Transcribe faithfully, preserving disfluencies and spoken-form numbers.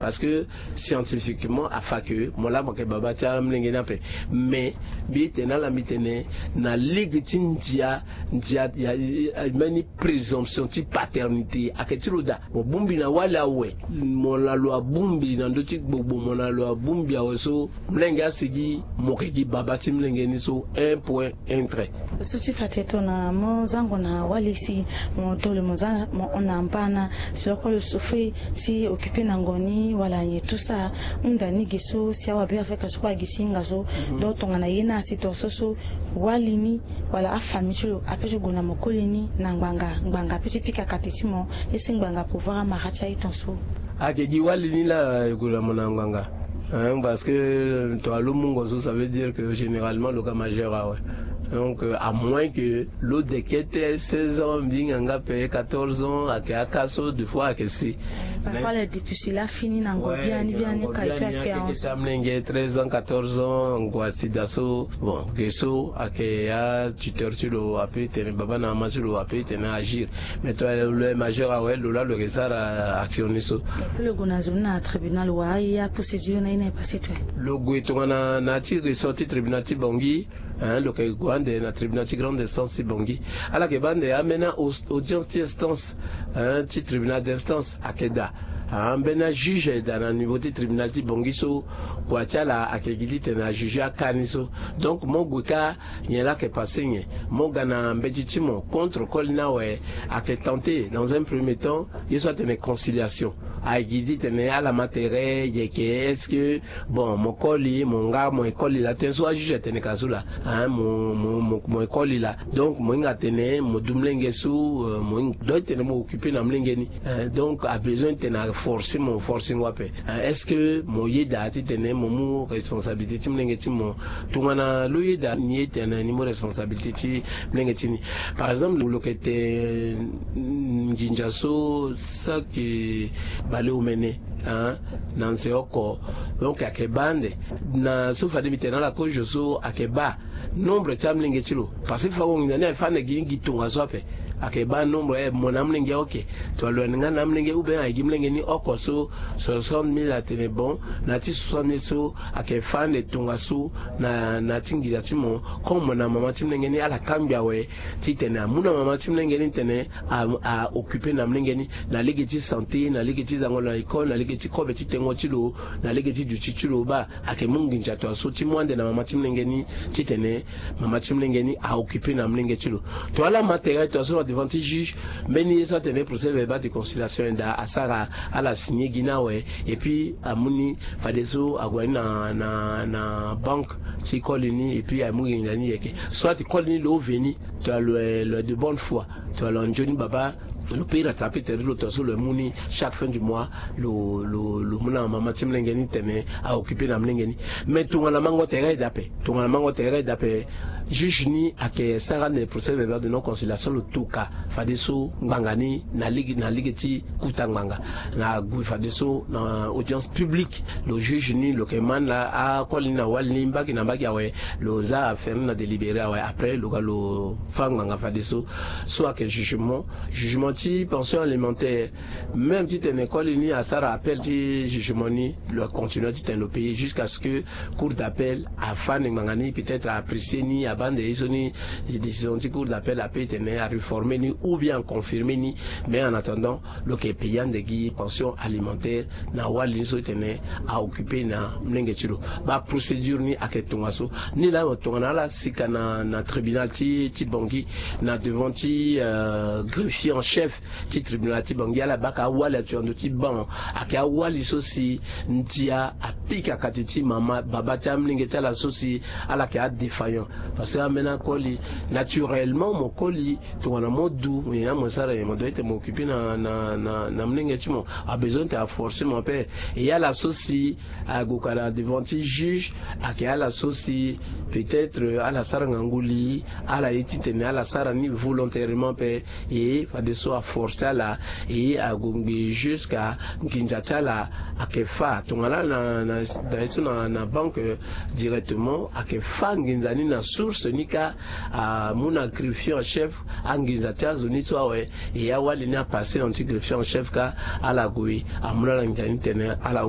Parce que scientifiquement afa ke mo laa mo yeke baba ti amolenge ni ape. Mais mbi tene ala mbi tene na lege ti ndia ndia ya mbeni présomption ti paternité ayeke ti lo daa. Mo bongbi na wali awe, mo na lo abongbi na ndö ti gbogbo, mo na lo abongbi awe so molenge asigi mo yeke gi baba ti molenge ni so un point un trait. Lo so ti fa tene tongana mo zango na wali si mo to lo mo za mo hon na mbana si lo kue lo souffrir si occuper na ngo ni wala nyen tout ça. Hunda ni gi so si awabe afrika so kue agi si hinga so. Donc tongana ye ni asi tongaso so wali ni wala afamille ti lo ape ti gue na mo koli ni na ngbanga ngbanga ape ti pika kate ti mo ye si ngbanga pouvoir amara ti aye tongaso. Ayeke gi wali ni laa e gue na mo na ngbanga. Hein, parce que tongana lo mungo so ça veut dire que généralement lo ka majeur awe. Donc à moins que lo dekete seize ans mbi hinga nga ape quatorze ans ayeke aka so deux fois ayeke si. Parfois les dépucile afini na ngo biani biani ka epe ayeke sa mlenge treize ans quatorze ans ngo asi daa so. Bon ge so ayeke atuteur ti lo ape tene baba na mama ti lo ape tene agir. Mais tongana lo majeur awe lo laa lo yeke sara action ni so. Lo gue na zo ni na tribunal wa aye aprocédure na ye na ye passe to. Lo gue tongana na ya ti ressort ti tribunal ti bongi. Hein, lo yeke gue ande na tribunal ti grande instance ti bongi. Ala yeke baa ande ambeni audience ti instance, hein, ti tribunal d'instance ayeke daa. Ambeni ajuge ayeke daa na niveau ti tribunal ti bongi so. Kua ti ala ayeke gi titene ajuge aka ni so. Donc mo gue kâ nyen laa ayeke passe nyen? Mo ga na mbeti ti mo contre koli ni awe. Ayeke tenter dans un premier temps ye so atene conciliation. Ayeke gi titene ala ma tere yeke est-ce que bon mo koli mo nga mo ye koli laa tënë so ajuge atene ka so laa. Hein, mo mo mo mo ye koli laa. Donc mo hinga atene mo du molenge so. Mo hinga donc titene mo occuper na molenge ni. Hein, donc abezoin titene aforcer mo forcer ngo ape. Hein, est-ce que mo yeda titene mo mu responsabilité ti molenge ti mo? Tongana lo yeda ni ye tene ni mu responsabilité ti molenge ti ni. Par exemple lo yeke te nginza so saki baleomene, hein, na nze oko. Donc ayeke baa ande na so fade mbi tene na ala kozo so ayeke baa nombre ti amolenge ti lo. Parce que fa wo nginza ni aye fa ande gi ni gi tongaso ape. Ayeke baa nombre e mo na amolenge oke. Tongana lo yende nga na amolenge ou bien aye gi molenge ni oko so soixante mille atene bon. Na ya ti soixante mille so ayeke fa ande tongaso na na ya ti nginza ti mo. Comme mo na mama ti molenge ni ala kangbi awe titene amu na mama ti molenge ni titene a occuper na molenge ni na lege ti santé na lege ti zango na école na lege ti kobe ti tengo ti lo na lege ti duti ti lo baa. Ayeke mu nginza tongaso ti mu ande na mama ti molenge ni titene mama ti molenge ni a occuper na molenge ti lo. Tongana ala ma tere tongaso na devant ti juge mbeni ye so atene procès verbal de conciliation ayenda asara ala signer gi ni awe. Et puis amu ni fadeso ague ni na na na banque ti koli ni et puis amu nginza ni yeke soit koli ni lo veni. Tongana lo est de bonne foi tongana lo nzoni baba lo peut rattraper tere ti lo tongaso lo mu ni chaque fin du mois. Lo lo lo mu na mama ti molenge ni tene a occuper na molenge ni. Mais tongana mango tere aye daa ape tongana mango tere aye daa ape juge ni ayeke sara ande procès verbal de non conciliation lo tuka fadeso ngbanga ni na lege na lege ti kuta ngbanga. Na gue fadeso na audience publique lo juge ni lo yeke ma ni laa akoli ni na wali ni mbage na mbage awe. Lo za affaire ni na délibéré awe après lo ga lo fâ ngbanga fadeso so ayeke jugement jugement ti pension alimentaire. Même titene koli ni asara appel ti jugement ni lo continue titene lo payer jusqu'à ce que cour d'appel afâ ande ngbanga ni peut-être a apprécier ni abaa ande ye so ni décision ti cour d'appel ape titene a réformer ni ou bien a confirmer ni. Mais en attendant lo yeke payer ande gi pension alimentaire na wali ni so titene a occuper na molenge ti lo. Baprocédure ni ayeke tongaso. Ni laa tongana ala sika na na tribunal ti ti bongi na devant ti greffier en chef ti tribunal ti bongi ala baka awali atu na ndö ti ban. Ayeke awali so si ndia apika kati ti mama baba ti amolenge ti ala so si ala yeke adéfaillant. Parce que ambeni akoli naturellement mo koli tongana mo du mo nyen na mo sara nyen mo doit ete mo occuper na na na molenge ti mo. Abezoin ete aforcer mo ape. E ala so si ague ka na devant ti juge ayeke ala so si peut-être ala sara ngangu li ala ye titene ala sara ni volontairement ape. E fadeso aforce ala, e ague ngbii jusqu'à nginza ti ala ayeke fâ tongana ala na na ye so na banque directement, ayeke fâ nginza ni na source ni kâ. Amu na greffier en chef anginza ti azo ni so awe. E awali ni apasser na ndö ti greffier en chef kâ, ala gue amu na ala nginza ni tene ala